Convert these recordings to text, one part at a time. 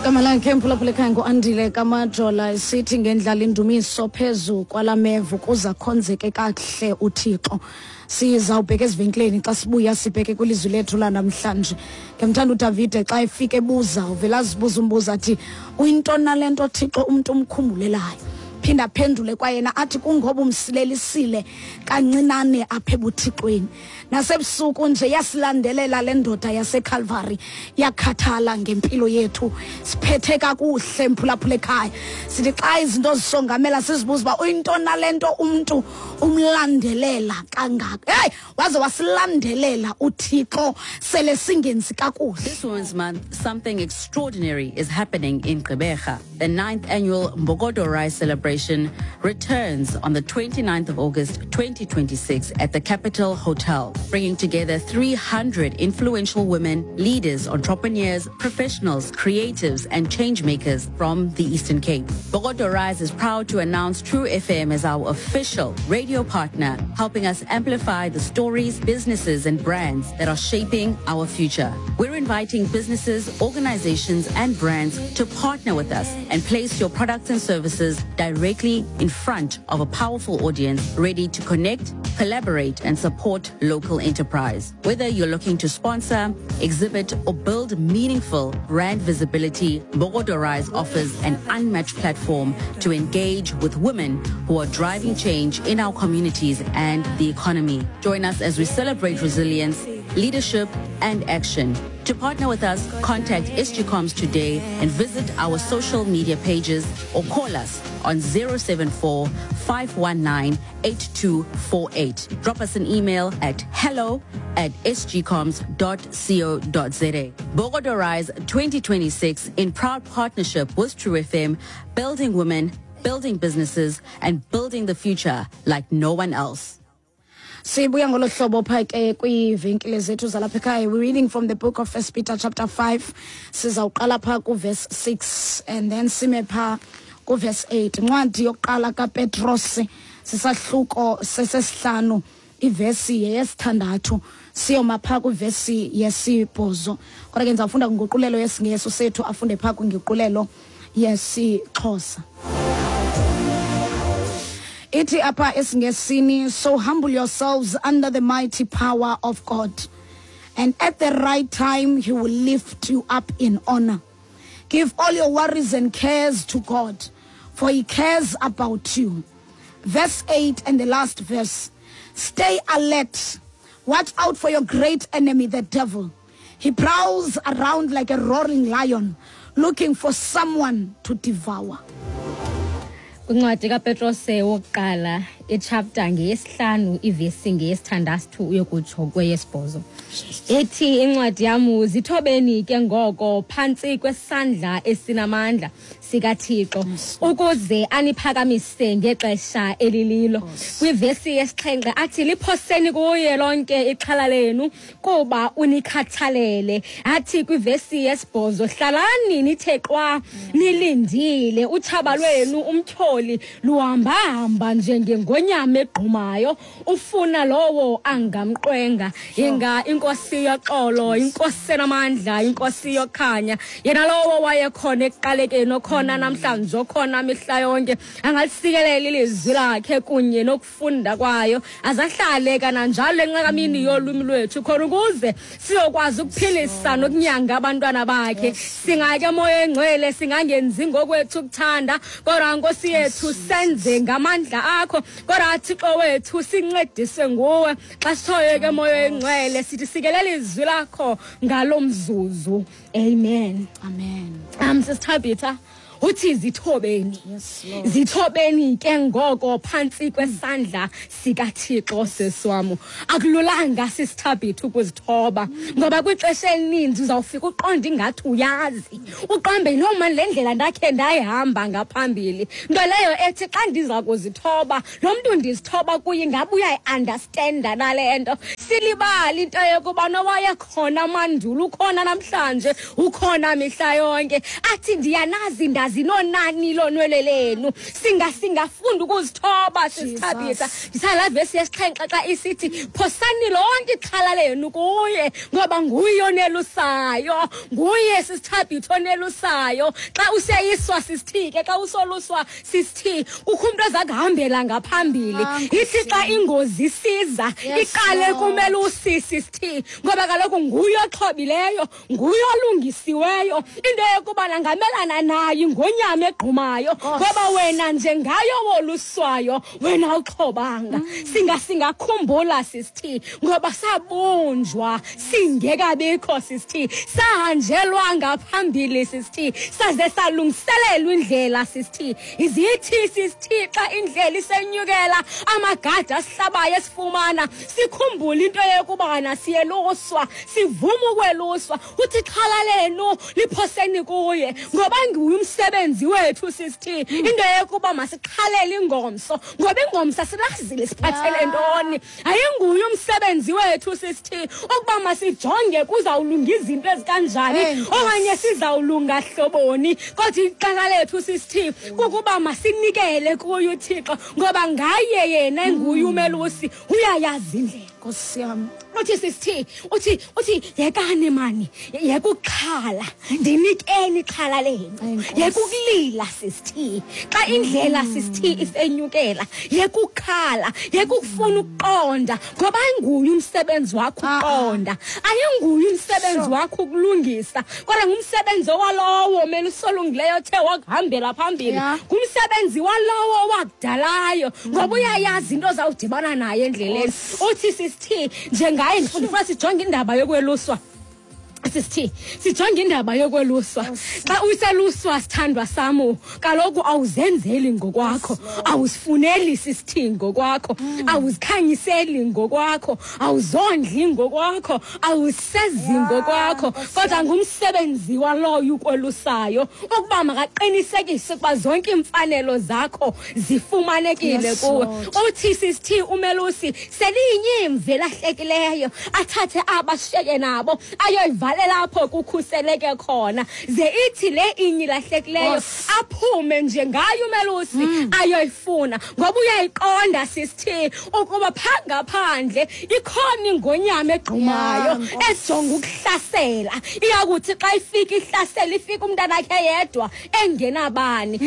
Igama lakhe mphulaphula ekhaya nguAndile Kamajola, esithi ngendlala indumiso phezu kwala mevu kuza khonzeke kakuhle uThixo. Sizawubheka ezivenkileni, xa sibuya sibheke kwilizwi lethu lanamhlanje. Ngemthanda uDavide xa efika ebuza, uvela azibuza umbuzo athi, uyintoni nale nto Thixo umntu umkhumbulelayo? Phinda aphendule kwayena athi kungoba umsilelisile kancinane apha ebuthixweni. Nasebusuku nje yasilandelela le ndoda yaseCalvary, yakhathala ngempilo yethu. Siphethe kakuhle mphulaphula ekhaya. Sithi xa izinto zisongamela sizibuza uba uyintoni nale nto umntu umlandelela kangaka. Hey, waze wasilandelela uThixo sele singenzi kakuhle. This Women's Month, something extraordinary is happening in Gqeberha. The 9th annual Mbokodo Rise celebration returns on the 29th of August 2026 at the Capital Hotel, bringing together 300 influential women, leaders, entrepreneurs, professionals, creatives, and change makers from the Eastern Cape. Mbokodo Rise is proud to announce True FM as our official radio partner, helping us amplify the stories, businesses, and brands that are shaping our future. We're inviting businesses, organizations, and brands to partner with us and place your products and services directly in front of a powerful audience ready to connect, collaborate, and support local enterprise. Whether you're looking to sponsor, exhibit, or build meaningful brand visibility, Mbokodo Rise offers an unmatched platform to engage with women who are driving change in our communities and the economy. Join us as we celebrate resilience, leadership, and action. To partner with us, contact SGComs today and visit our social media pages or call us on 074 519 8248. Drop us an email at hello@sgcoms.co.za. Mbokodo Rise 2026 in proud partnership with True FM, building women, building businesses, and building the future like no one else. Sibuya ngolo hlobo pha ke kwiivenkile zethu zalapha ekhaya. We're reading from the book of First Peter chapter 5. Sizawuqala pha kuverse 6 and then sime pha kuverse 8. Incwadi yokuqala kaPetros, sisahluko sesesihlanu, ivesi yeyesithandathu, siyoma pha kwivesi yesibhozo. Kodwa ke ndizawufunda kwinguqulelo yesiNgesi, sethu afunde pha kwinguqulelo yesiXhosa. Ithi apha esiNgesini, so humble yourselves under the mighty power of God, and at the right time he will lift you up in honor. Give all your worries and cares to God, for he cares about you. Verse 8 and the last verse. Stay alert. Watch out for your great enemy, the devil. He prowls around like a roaring lion, looking for someone to devour. Kwincwadi kaPetrose wokuqala, ichapter ngeyesihlanu, ivesi ngeyesithandathu uyokutsho kweyesibhozo. Ethi incwadi yam, zithobeni ke ngoko phantsi kwesandla esinamandla sikaThixo, ukuze aniphakamise ngexesha elililo. Kwivesi yesixhenxe athi, liphoseni kuye lonke ixhala lenu, kuba unikhathalele. Athi kwivesi yesibhozo, hlalani nithe qwa nilindile, utshaba lwenu umtyholi luhambahamba njengengonyama egqumayo, ufuna lowo angamqwenga. Inga inkosi yoxolo, inkosi enamandla, inkosi yokhanya, yena lowo wayekhona ekuqalekeni, okhona namhlanje, okhona mihla yonke, angalisikelela ilizwi lakhe kunye nokufunda kwayo, azahlale kananjalo enxakamini yolwimi lwethu, khona ukuze siyokwazi ukuphilisa nokunyanga abantwana bakhe. Singake moya engcwele, singangenzi ngokwethu ukuthanda, kodwa nkosi yethu senze ngamandla akho, kodwa Thixo wethu sincedise nguwe. Xa sithoyo ke moya engcwele, sithi sikelela izwi lakho ngalo mzuzu. Amen. Amen. Sisithabitha, uthi zithobeni. Yes, Lord. Zithobeni ke ngoko phantsi kwesandla sikaThixo. Seswam, akululanga sisithabitha ukuzithoba, ngoba kwixesha elininzi uzawufika uqonde ingathi uyazi, uqambe noma le ndlela ndakhe ndayihamba ngaphambili, nto leyo ethi xa ndiza kuzithoba, lo mntu ndizithoba kuye ingabe uyayi-understanda nale nto. Silibali into yokuba nowayekhona mandulo ukhona namhlanje, ukhona mihla yonke. Athi ndiyanazi, ndazi. Ningazi nonani lonwele lenu. Singafunda ukuzithoba sisithabisa. Ndisala vesi yesixhenxe xa isithi phosani lonke ixhala lenu kuye, ngoba nguye onelusayo, nguye sisithabitha onelusayo. Xa useyiswa sisithike, xa usoluswa sisithi kukho umntu oza kuhambela ngaphambili. Ithi xa ingozi isiza iqale kumelusi sisithi, ngoba kaloku nguye oxhobileyo, nguye olungisiweyo. Into yokuba nangamelana nayo ingonyama egqumayo, ngoba wena njengayo woluswayo wena uxhobanga. Singakhumbula sisithi, ngoba sabunjwa singekabikho sisithi, sahanjelwa ngaphambili sisithi, saze salungiselelwa indlela sisithi. Izithi sisithi xa indlela isenyukela amagada asihlabayo esifumana, sikhumbule into yokubana siyeluswa, sivuma ukweluswa. Uthi xhala lenu liphoseni kuye, ngoba nguye umsebenzi wethu sisithi. Into yokuba masixhalele ingomso, ngoba ingomso asilazile siphathele ntoni. Ayinguye umsebenzi wethu sisithi ukuba masijonge kuzawulunga izinto ezikanjani okanye sizawulunga hloboni, kodwa ixhala lethu sisithi kukuba masinikele kuye uThixo, ngoba ngaye yena enguye umelusi uyayazi indlela. Nkosi yam. Uthi sisithi, uthi yekani mani, yekuxhala, ndinikeni ixhala lenu, yekukulila sisithi. Xa indlela sisithi isenyukela, yekukhala, yekufuna ukuqonda, ngoba ayinguye umsebenzi wakho ukuqonda, ayinguye umsebenzi wakho ukulungisa, kodwa ngumsebenzi walowo melusolungileyo othe wakuhambela phambili, ngumsebenzi walowo wakudalayo, ngoba uyayazi into ozawudibana naye endleleni. Uthi sisithi njengaye, ndifuna sijonge indaba yokweluswa. Sisithi sijonge indaba yokweluswa. Xa useluswa sithandwa samu, kaloku awuzenzeli ngokwakho, awuzifuneli sisithi ngokwakho, awuzikhanyiseli ngokwakho, awuzondli ngokwakho, awusezi ngokwakho, kodwa ngumsebenzi waloyo ukwelusayo ukuba makaqinisekise ukuba zonke iimfanelo zakho zifumanekile kuwe. Uthi sisithi umelusi seliyinyimvi elahlekileyo, athathe abashiyeke nabo ayoyivalela lapho kukhuseleke khona, ze ithi le inye ilahlekileyo aphume nje ngayo umelusi ayoyifuna, ngoba uyayiqonda sisithi ukuba phangaphandle ikhona ingonyama egqumayo ejonga ukuhlasela. Iyakuthi xa ifika ihlasela, ifika umntanakhe yedwa engenabani.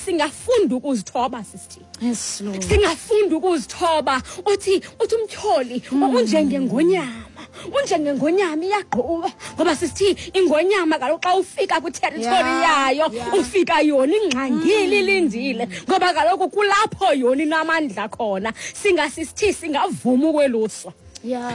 Singafunda ukuzithoba sisithi. Yes, Lord. Singafunda ukuzithoba. Uthi umtyholi unjengengonyama, unjengengonyama iyagquba, ngoba sithi ingonyama kaloku xa ufika kwiterritory yayo ufika yona ingxangile ilindile, ngoba kaloku kulapho yona inamandla khona. Singasithi singavuma ukweluswa.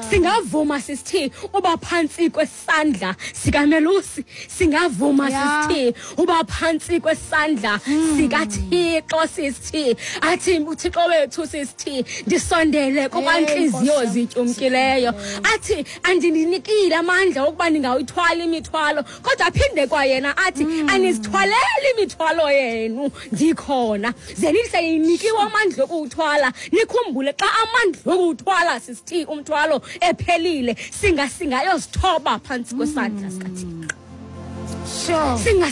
Singavuma sisithi uba phantsi kwesandla sikamelusi, singavuma sisithi uba phantsi kwesandla sikaThixo sisithi. Athi uThixo wethu sisithi ndisondele kuba intliziyo zityumkileyo. Athi andininikile amandla okuba ningawuthwala imithwalo, kodwa aphinde kwayena athi anizithwaleli imithwalo yenu, ndikhona. Ze nihlenikiwe amandla okuwuthwala. Nikhumbule xa amandla okuwuthwala sisithi umthwalo ephelile, singayozithoba phantsi kwesandla sikaThixo.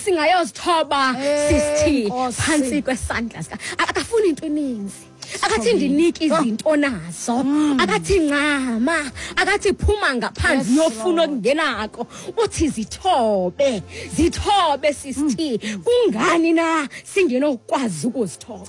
Singayozithoba sisithi phantsi kwesandla sika. Akafuni into eninzi, akathi ndinike izinto nazo, akathi ncama, akathi phuma ngaphandle uyofuna okungenako. Uthi zithobe, zithobe sisithi. Kungani na singenokwazi ukuzithoba?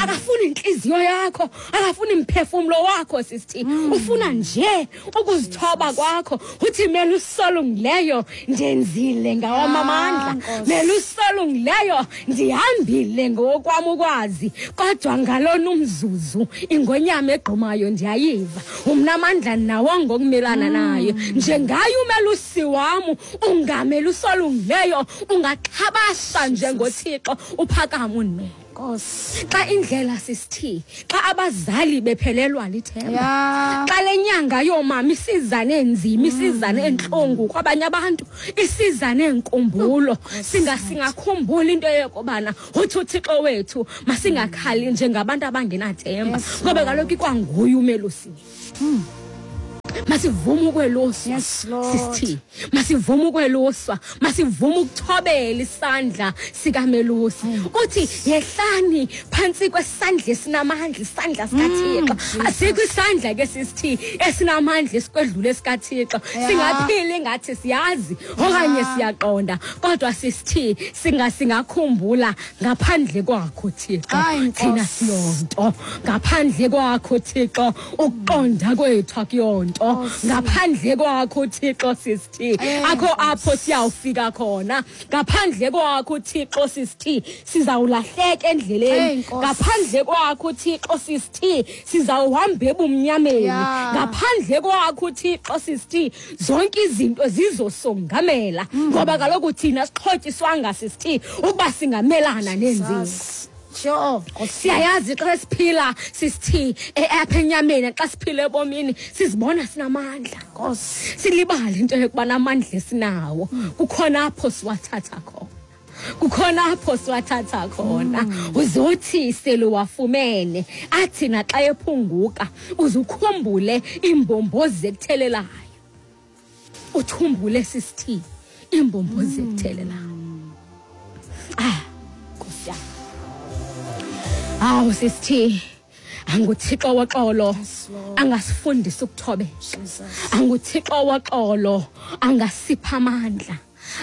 Akafuni inhliziyo yakho, akafuni imphefumlo wakho sisithi. Ufuna nje ukuzithoba kwakho. Uthi melusolungileyo ndenzile ngawam amandla, melusolungileyo ndihambile ngokwam ukwazi, kodwa ngalona umzuzu ingonyama egqumayo ndiyayiva, umna amandla nawo ngokumelana nayo. Njengaye umelusi wam, ungamelusolungileyo, ungaxhabasha njengoThixo, uphakama undimele. Xa indlela sisithi, xa abazali bephelelwa lithemba, xa le nyanga yoomama isiza neenzima, isiza neentlungu kwabanye abantu, isiza neenkumbulo, singakhumbula into yokubana uthi uThixo wethu masingakhali njengabantu abangenathemba, ngoba kaloku ikwanguye umelusi. Masivume ukweluswa. Yes, Lord. Sisithi masivume ukweluswa, masivume ukuthobela isandla sikamelusi. Uthi yehlani phantsi kwesandla esinamandla, isandla sikaThixo. Asikho isandla ke sisithi esinamandla esikwedlula esikaThixo. Singaphila ingathi siyazi okanye siyaqonda, kodwa sisithi singakhumbula ngaphandle kwakho Thixo. Hayi, Thina Nkosi. siyonto ngaphandle kwakho Thixo, ukuqonda kwethu akuyonto. Ngaphandle kwakho Thixo sisithi akho apho siyawufika khona. Ngaphandle kwakho Thixo sisithi sizawulahleka endleleni. Nkosi. Ngaphandle kwakho Thixo sisithi sizawuhamba ebumnyameni. Ngaphandle kwakho Thixo sisithi zonke izinto zizosongamela, ngoba kaloku thina sixhotyiswanga sisithi ukuba singamelana nenzima. Sure. Nkosi. Siyayazi xa siphila sisithi apha enyameni, xa siphila ebomini sizibona sinamandla. Nkosi. Silibale into yokuba namandla esinawo, kukhona apho siwathatha khona. Kukhona apho siwathatha khona. Uzothi seluwafumene, athi naxa ephunguka uzukhumbule imbombozi ekuthelelayo. Uthumbule sisithi imbombozi ekuthelelayo. Ah, Nkosi yam. Awu sisithi anguThixo woxolo angasifundisa ukuthobeka. Jesus. AnguThixo woxolo angasipha amandla.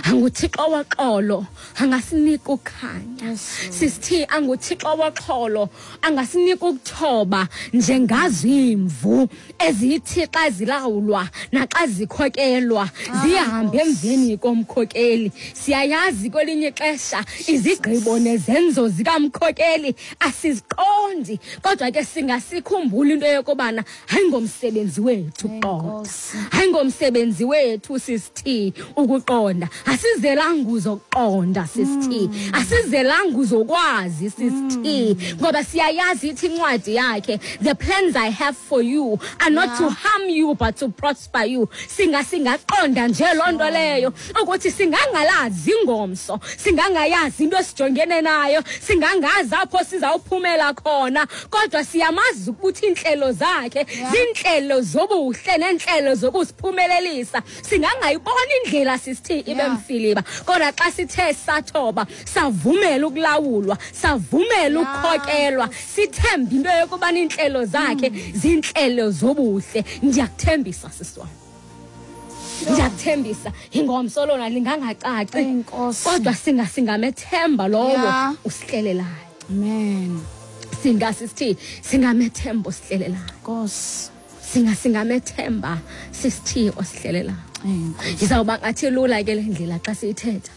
AnguThixo woxolo angasinika ukukhanya. Yes, Lord. Sisithi anguThixo woxolo angasinika ukuthoba njengazo imvu ezithi xa zilawulwa naxa zikhokelwa zihambe emveni komkhokeli. Siyayazi kwelinye ixesha izigqibo nezenzo zikamkhokeli asiziqondi, kodwa ke singasikhumbula into yokubana hayi ngomsebenzi wethu ukuqonda. Nkosi. Hayi ngomsebenzi wethu sisithi ukuqonda. Asizelanga uzoqonda sisithi, asizelanga uzokwazi sisithi, ngoba siyayazi ithi incwadi yakhe, the plans I have for you are not to harm you but to prosper you. Singaqonda nje loo nto leyo ukuthi singangalazi ingomso, singangayazi into esijongene nayo, singangazi apho sizawuphumela khona, kodwa siyamazi ukuthi iintlelo zakhe ziintlelo zobuhle neentlelo zokusiphumelelisa. Singangayibona indlela sisithi ibe mfiliba, kodwa xa sithe sathoba, savumela ukulawulwa, savumela ukukhokelwa, sithembe into yokuba iintlelo zakhe ziintlelo zobuhle. Ndiyakuthembisa sisi wam, ndiyakuthembisa ingomso lona lingangacaci, Enkosi. kodwa singamethemba lowo usihlelelayo. Amen. Singasithi singamethemba osihlelelayo. Nkosi. Singamethemba sisithi osihlelelayo. Enkosi. Izawuba ngathi lula ke le ndlela xa siyithetha.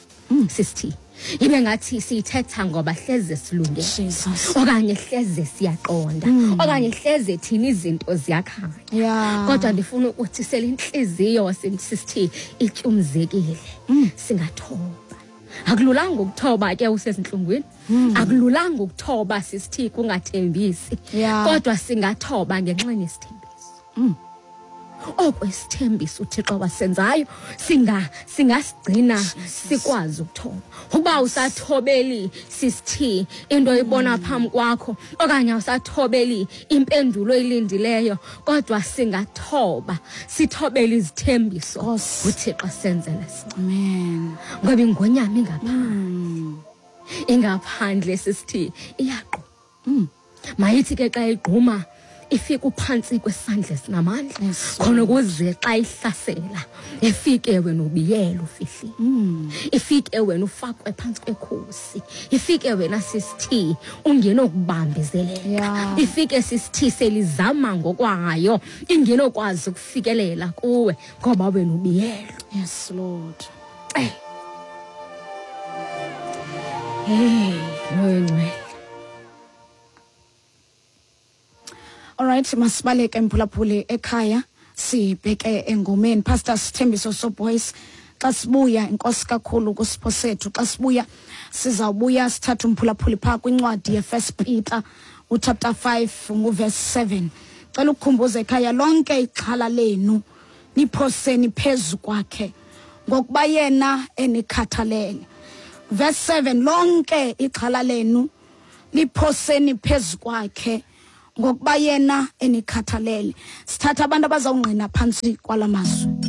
Sisithi ibe ngathi siyithetha ngoba hleze silungele. Jesus. Okanye hleze siyaqonda. Okanye hleze thina izinto ziyakhanya. Kodwa ndifuna ukuthi sele intliziyo sisithi ityumzekile. Singathoba. Akululanga ukuthoba ke usezintlungwini. Akululanga ukuthoba sisithi kungathembisi. Kodwa singathoba ngenxa yesithembiso. Okwesithembiso uThixo wasenzayo singasigcina sikwazi ukuthoba. Uba usathobeli sisithi into oyibona phambi kwakho, okanye awusathobeli impendulo oyilindileyo, kodwa singathoba sithobele izithembiso Nkosi. uThixo asenzele sona. Amen. Ngoba ingonyama ingaphandle. Ingaphandle sisithi iyagquma. Mayithi ke xa igquma ifike uphantsi kwesandla esinamandla. Yes. Khona ukuze xa ihlasela ifike wena ubiyele ufihlile. Ifike wena ufakwe phantsi kwekhusi. Ifike wena sisithi ungenokubambezeleka. Ifike sisithi selizama ngokwayo ingenokwazi ukufikelela kuwe ngoba wena ubiyelwe. Yes, Lord. Hey. Hey, Moya Ngcwele. All right, masibaleke mphulaphuli ekhaya sibheke engomeni. Pastor Sithembiso Soboys, xa sibuya inkosi kakhulu kusipho sethu. Xa sibuya sizawubuya sithathe umphulaphuli phaa kwincwadi ye-First Peter uchapter 5 nguverse 7. Cela ukukhumbuza ekhaya lonke ixhala lenu niphoseni phezu kwakhe ngokuba yena enikhathalele. Verse 7, lonke ixhala lenu liphoseni phezu kwakhe Ngokuba yena enikhathalele. Sithatha abantu abazawungqina phantsi kwala mazwi.